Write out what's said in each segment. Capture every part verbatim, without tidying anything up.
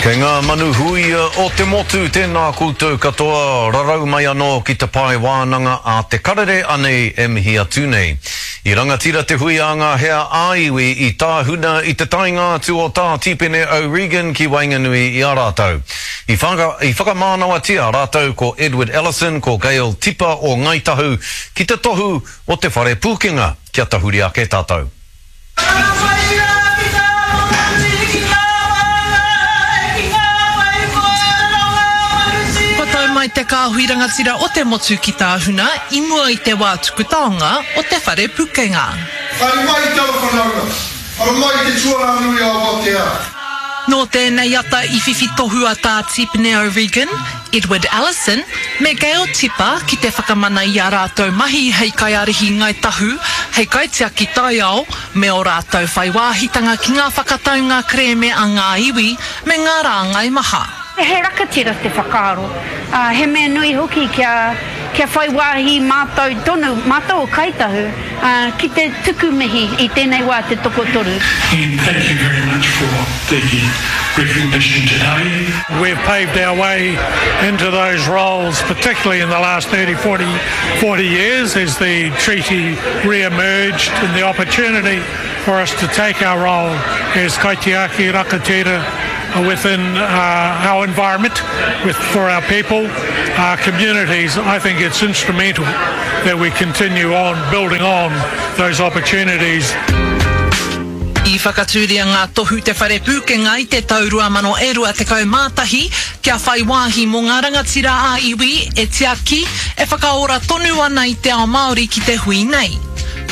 Kei ngā manu huia o te motu, tēnā koutou katoa, rarau mai anō ki te pae wānanga a Te Karere anei e mihi atu nei. I rangatira te hui a ngā hea ā-iwi i tāhuna i te taenga atu o Tā Tipene O'Regan ki waenganui i a rātou. I, whaka, i whakamānawatia rātou ko Edward Ellison, ko Gail Tipa o Ngāi Tahu ki te tohu o te whare pūkenga. Kia tahuri ake tātou. Kua tau mai te kāhui rangatira o te motu ki Tāhuna i mua i te wā tuku taonga o Te Whare Pukenga. Haere mai te ara whanaunga, ara mai te tuarā nui a Awatea. Nō tēnei ata i whiwhi tohu a Tā Tipene O'Regan, Edward Ellison, me Gail Tipa ki te whakamana i ā rātou mahi hei kaiārahi Ngāi Tahu, hei kaitiaki taiao, me ō rātou whai wāhitanga ki ngā whakataunga kerēme a ngā iwi me ngā rāngai maha. He rakatira te whakaaro, ā, he mea nui hoki kia, kia whai wāhi mātou tonu, mātou o Kāi Tahu, ā, ki te tuku mihi i tēnei wā te tokotoru. And thank you very much for the recognition today. We've paved our way into those roles, particularly in the last thirty, forty, forty years as the treaty re-emerged and the opportunity for us to take our role as kaitiaki rakatira within uh, our environment, with, for our people, our communities. I think it's instrumental that we continue on building on those opportunities. I whakatūria ngā tohu Te Whare Pūkenga i te tau rua mano e rua tekau mā tahi kia whai wāhi mō ngā rangatira ā-iwi e tiaki, e whakaora tonu ana i te ao Māori ki te hui nei.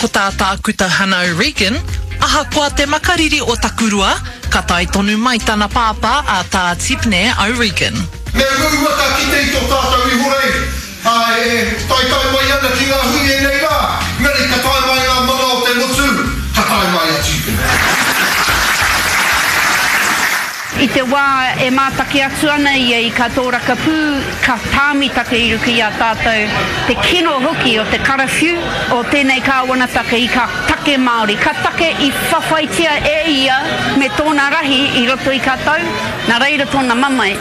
Ko tā Tākuta Hana O'Regan, ahakoa te makariri o Takurua, ka tae tonu mai tana pāpā a Tā Tipene O'Regan. Me uaua ka kite i tō tātou ihorei, ā, e taetae mai ana ki ngā hui ēnei rā, engari ka tae mai ngā mana o te motu, ka tae mai a Tipene. I te wā e mātaki atu ana ia i ka tōrakapū, ka tāmi take i ruku i a tātou te kino hoki o te karawhiu o tēnei kāwanataka i ka take Māori, ka take i whawhaitia e ia me tōna rahi i roto i ka tau, nā reira tōna mamae.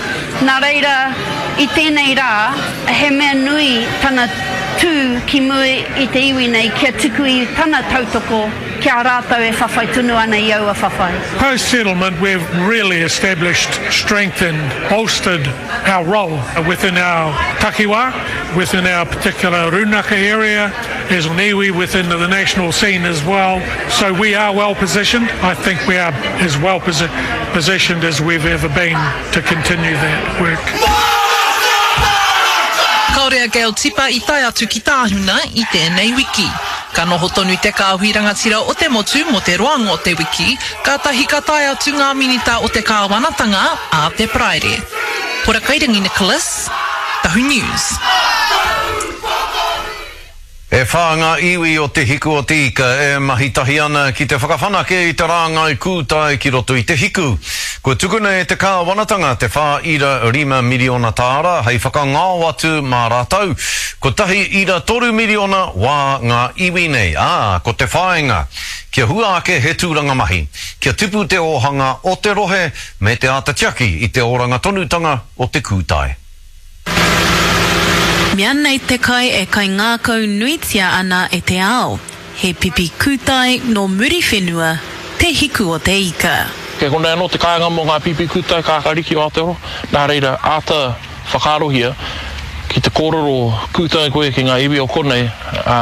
Nā reira, i tēnei rā, he mea nui tana tū ki mua i te iwi nei kia tuku i tana tautoko ki a rātou e whawhai tonu ana i aua whawhai. Post-settlement, we've really established, strengthened, bolstered our role within our takiwa, within our particular runaka area, as an iwi within the national scene as well. So we are well positioned. I think we are as well posi-, positioned as we've ever been to continue that work. Kāore a Gail Tipa i tae atu ki Tāhuna i tēnei wiki. Ka noho tonu te kāhui rangatira o te motu mō te roanga o te wiki, kātahi ka tae atu ngā minita o te kāwanatanga a te Paraire. Hora Kairangi Nicholas, Tahu News. E whā ngā iwi o Te Hiku o Te Ika e mahi tahi ana ki te whakawhanake i te rāngai kūtai ki roto i te hiku. Kua tukuna e te kāwanatanga te whā ira rima miriona tāra hei whakangao atu mā rātou. Kotahi ira toru miriona wā ngā iwi nei, ā, ko te whāinga kia hua ake he tūranga mahi, kia tipu te ōhanga o te rohe me te āta tiaki i te oranga tonutanga o te kūtai. Mea nei te kai e kaingākau nuitia ana e te ao, he pipi kūtai nō Muriwhenua, te hiku o te ika. Kei konei anō te kāinga mō ngā pipi kūtai kākāriki o Aotearoa, nā reira āta whakaarohia ki te kōrero kūtai koe ki ngā iwi o konei, ā,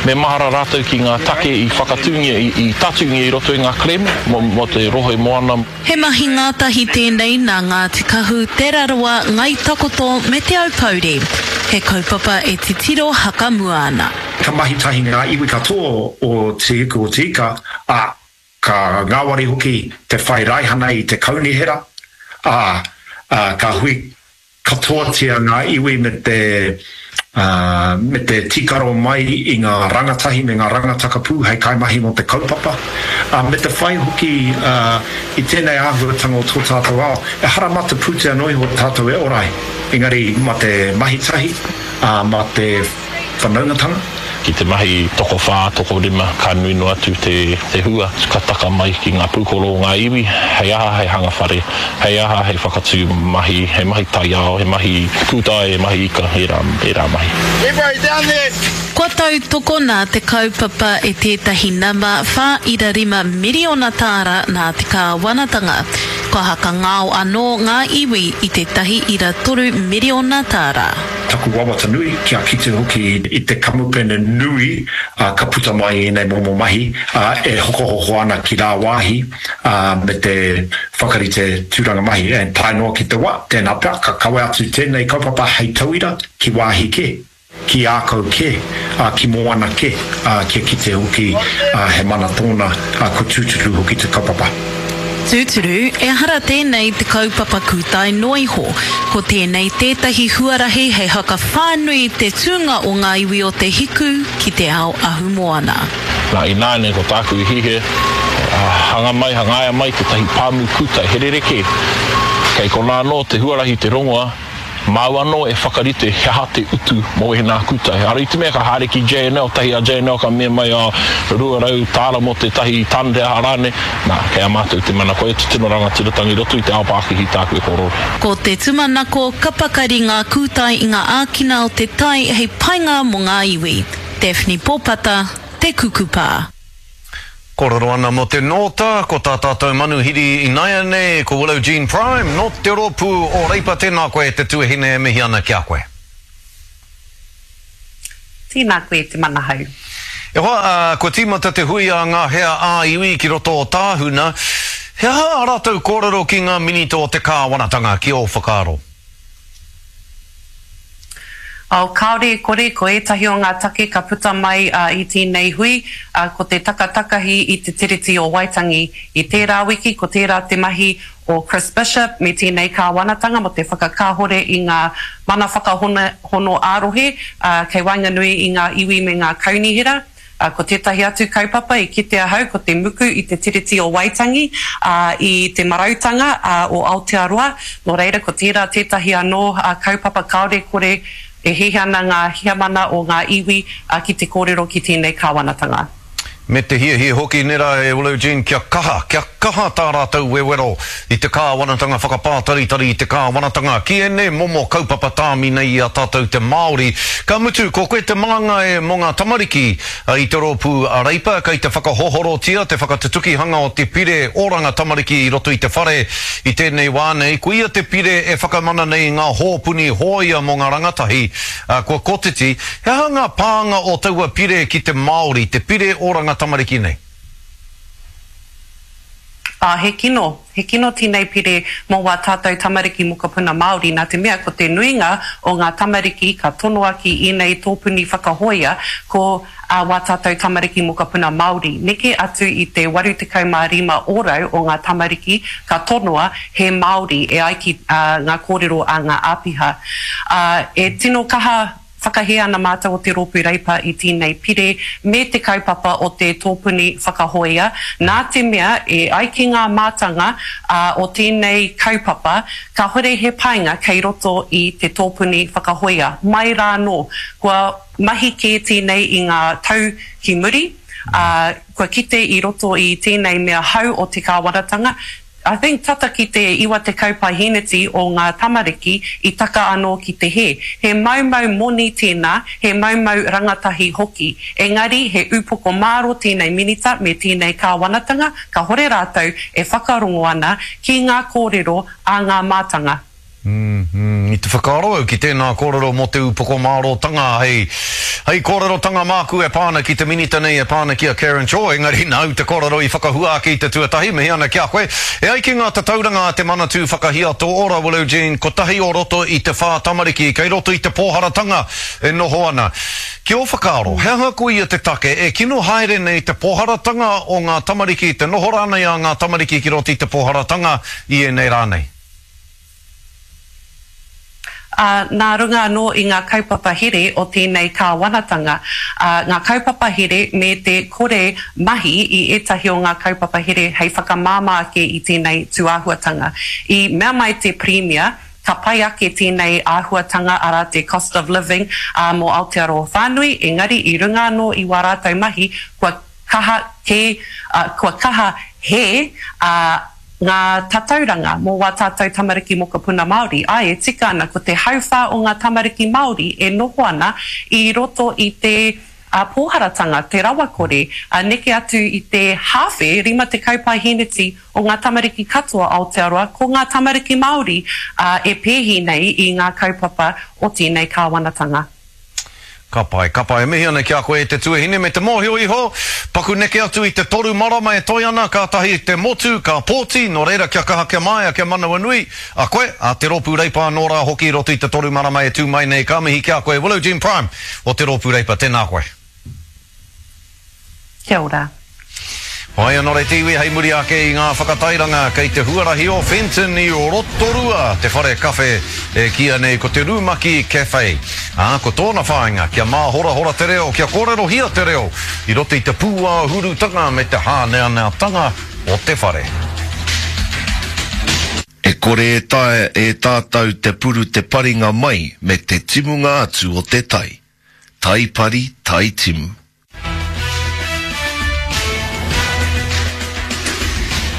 me mahara rātou ki ngā take i whakatūngia, i, i tatūngia i roto i ngā kerēme mō, mō te rohe moana. He mahi ngātahi tēnei nā Ngāti Kahu, Te Rarawa, Ngāi Takoto me Te Aupōuri. He kaupapa e titiro hakamua ana. Ka mahi tahi ngā iwi katoa o Te Hiku o Te Ika, ā, ka ngāwari hoki te whai raihana i te kaunihera, ā, ka hui katoatia ngā iwi me te, ā, me te tīkaro mai i ngā rangatahi me ngā rangatakapū hei kaimahi mō te kaupapa, ā, me te whai hoki, ā, i tēnei āhuatanga o tō tātou ao, ehara mā te pūtea noa iho tātou e ora ai, engari mā te mahi tahi, ā, mā te whanaungatanga, Ki te mahi tokowhā, tokorima, ka nui noa atu te, te hua. Ka taka mai ki ngā pūkoro o ngā iwi, hei aha, hei hanga whare, hei aha, hei whakatū mahi, he mahi taiao, he mahi kūtai, he mahi ika, ērā, ērā mahi. Everybody down there! Kua tautokona te kaupapa e tētahi nama whā ira rima miriona tāra nā te kāwanatanga. Kua hakangao anō ngā iwi i tētahi ira toru miriona tāra. Taku wawata nui, kia kite hoki i te kamupene nui ka puta mai i ēnei momo mahi e hokohoko ana ki rāwāhi me te whakarite tūranga mahi. And tae noa ki te wā, tēnā pea ka kawe atu tēnei kaupapa hei tauira ki wāhi kē, ki ākau kē, ki moana kē, kia kite hoki he mana tōna, kua tūturu hoki te kaupapa. Tūturu, ehara tēnei te kaupapa kūtai noa iho. Ko tēnei tētahi huarahi hei hakawhānui te tūnga o ngā iwi o Te Hiku ki te ao ahumoana. Nā, ināianei ko tāku i hiahia, hanga mai, hangaia mai tētahi pāmu kūtai, he rerekē. Kei konā anō te huarahi te rongoa, Māu anō e whakarite he aha te utu mō ēnā kūtai. Ara i te mea ka haere ki J N L, tahi a J N L ka mea mai oh, rua rau tāra mō tētahi tane te aha rānei, nā, kei a mātou te mana. Koia te tino rangatiratanga i roto i te ao pākihi tāku e kōrero. Ko te tumanako ka pakari ngā kūtai i ngā ākina o te tai hei painga mō ngā iwi. Daphne Pōpata, Te Kukupa. Kōrero ana mō te nōta, ko tā tātou manuhiri inaianei, ko Willow Jean Prime, nō te rōpū o Reipa, tēnā koe te tuahine e mihi ana ki a koe. Tēnā koe te manahau. E hoa, kua tīmata te hui a ngā hea ā-iwi ki roto o Tāhuna, he aha ā rātou kōrero ki ngā minita o te kāwanatanga, ki ō whakaaro? Oh, kāore e kore, ko ētahi o ngā take ka puta mai i tēnei hui, ko te takatakahi i te Tiriti o Waitangi. I tērā wiki, ko tērā te mahi o Chris Bishop me tēnei kāwanatanga mō te whakakāhore i ngā mana whakahono ā-rohe kei waenganui i ngā iwi me ngā kaunihera. Ko tētahi atu kaupapa i kite ahau ko te muku i te Tiriti o Waitangi, i te marautanga o Aotearoa, nō reira ko tērā tētahi anō kaupapa kāore kore e hiahia ana ngā heamana o ngā iwi ki te kōrero ki tēnei kāwanatanga. Me te hiahia hoki nera e Willow Jean kia kaha, kia kaha tā rātou wewero i te kāwanatanga whakapātaritari i te kāwanatanga ki ēnei momo kaupapa tāmi nei i a tātou te Māori. Ka mutu, ko koe te māngai mō ngā tamariki i te rōpū a Reipa, kei te whakahohorotia te whakatutukihanga o te pire oranga tamariki i roto i te whare i tēnei wā nei. Ko ia te pire e whakamana nei i ngā hōpuni hōia mō ngā rangatahi kua kotiti. He aha ngā pānga o taua pire ki te Māori, te pire oranga tamariki nei? Ā, he kino, he kino tēnei pire mō wā tātou tamariki mokopuna Māori, nā te mea ko te nuinga o ngā tamariki ka tonoa ki ēnei tōpuni whakahōia ko ā wā tātou tamariki mokopuna Māori. Neke atu i te waru tekau mā rima ōrau o ngā tamariki ka tonoa he Māori e ai ki ngā kōrero a ngā āpiha. Ā, e tino kaha Whakahē ana mātou o te Rōpū Reipa i tēnei pire me te kaupapa o te tōpuni whakahōia, nā te mea e ai ki ngā mātanga o tēnei kaupapa, kāhore he painga kei roto i te tōpuni whakahōia. Mai rā anō, kua mahi kē tēnei i ngā tau ki muri, ā, kua kite i roto i tēnei mea hou o te kāwanatanga, I think tata ki te iwa tekau paeheneti o ngā tamariki i taka anō ki te hē. He maumau moni tēnā, he maumau rangatahi hoki. Engari he upoko māro tēnei Minita me tēnei Kāwanatanga, kahore rātou e whakarongo ana ki ngā kōrero a ngā mātanga. Mm, i te whakaaro au ki tēnā kōrero mō te upoko mārōtanga hei, hei kōrerotanga māku e pā ana ki te minita nei e pā ana ki a Karen Chor, engari nāu te kōrero i whakahua ake i te tuatahi, mihi ana ki a koe. E ai ki ngā tatauranga a te Manatū Whakahiato Ora, Willow Jean, kotahi o roto i te whā tamariki kei roto i te pōharatanga e noho ana. Ki ō whakaaro, he aha koia te take e kino haere nei te pōharatanga o ngā tamariki, te noho rānei a ngā tamariki ki roto i te pōharatanga i ēnei rā nei? Ā, nā runga anō i ngā kaupapa here o tēnei kāwanatanga, ā, ngā kaupapa here me te kore mahi i ētahi o ngā kaupapa here hei whakamāmā ake i tēnei tūāhuatanga. I mea mai te Pirimia, ka pai ake tēnei āhuatanga, arā te cost of living, ā, mō Aotearoa whānui, engari i runga anō i wā rātou mahi, kua kaha kē, ā, kua kaha hē, ā, ngā tatauranga mō wā tātou tamariki mokopuna Māori. Āe, e tika ana, ko te hauwhā o ngā tamariki Māori e noho ana i roto i te pōharatanga, te rawakore, ā, neke atu i te hāwhe, rima tekau paeheneti o ngā tamariki katoa Aotearoa, ko ngā tamariki Māori, ā, e pēhi nei i ngā kaupapa o tēnei kāwanatanga. Ka pai, ka pai. E mihi ana ki a koe e te tuahine me te mōhio iho, paku neke atu i te toru marama e toe ana, kātahi te motu, ka pōti, nō reira kia kaha, kia māia, kia manawanui a koe, a Te Rōpū Reipa anō rā hoki i roto i te toru marama e tū mai nei. Ka mihi ki a koe, Willow Jean Prime o Te Rōpū Reipa, tēnā koe. Kia ora. Whai anō te iwi hei muri ake i ngā whakatairanga kei te huarahi o Fenton i Rotorua te whare kawhe e kīia nei ko te Rumaki Cafe. Ā, ko tōna whāinga kia māhorahora te reo, kia kōrerohia te reo i roto i te pūāhurutanga me te hāneaneatanga o te whare. E kore e taea e tātou te puru te paringa mai me te timunga atu o te tai. Tai pari, tai timu.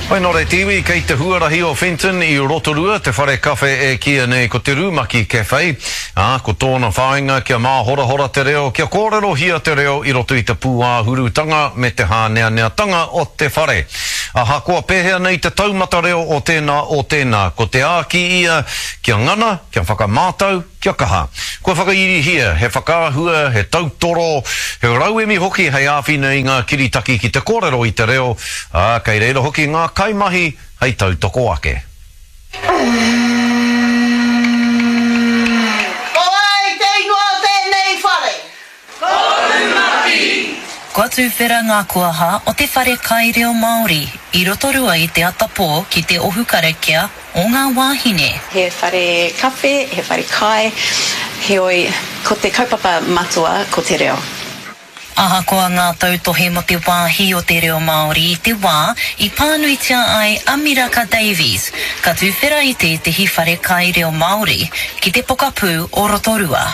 Hoi nō reira te iwi, kei te huarahi o Fenton i Rotorua te whare kawhe e kīia nei ko te Rumaki Cafe, ā, ko tōna whāinga kia māhorahora te reo, kia kōrerohia te reo i roto i te pūāhurutanga me te hāneaneatanga o te whare. Ahakoa pēhea nei te taumata reo o tēnā, o tēnā, ko te āki ia kia ngana, kia whakamātau, Kia kaha. Kua whakairihia he whakaahua, he tautoro, he rauemi hoki hei āwhina i ngā kiritaki ki te kōrero i te reo, ā, kei reira hoki ngā kaimahi hei tautoko ake. Ko wai te ingoa o tēnei whare? Ko Rumaki! Kua tuwhera ngā kuaha o te whare kai reo Māori i Rotorua i te atapō ki te ohu karakia o ngā wāhine. He whare kawhe, he whare kai, heoi ko te kaupapa matua ko te reo. Ahakoa ngā tautohe mō te wāhi o te reo Māori i te wā i pānuitia ai a Miraka Davies, ka tuwhera i tētehi whare kai reo Māori ki te pokapū o Rotorua.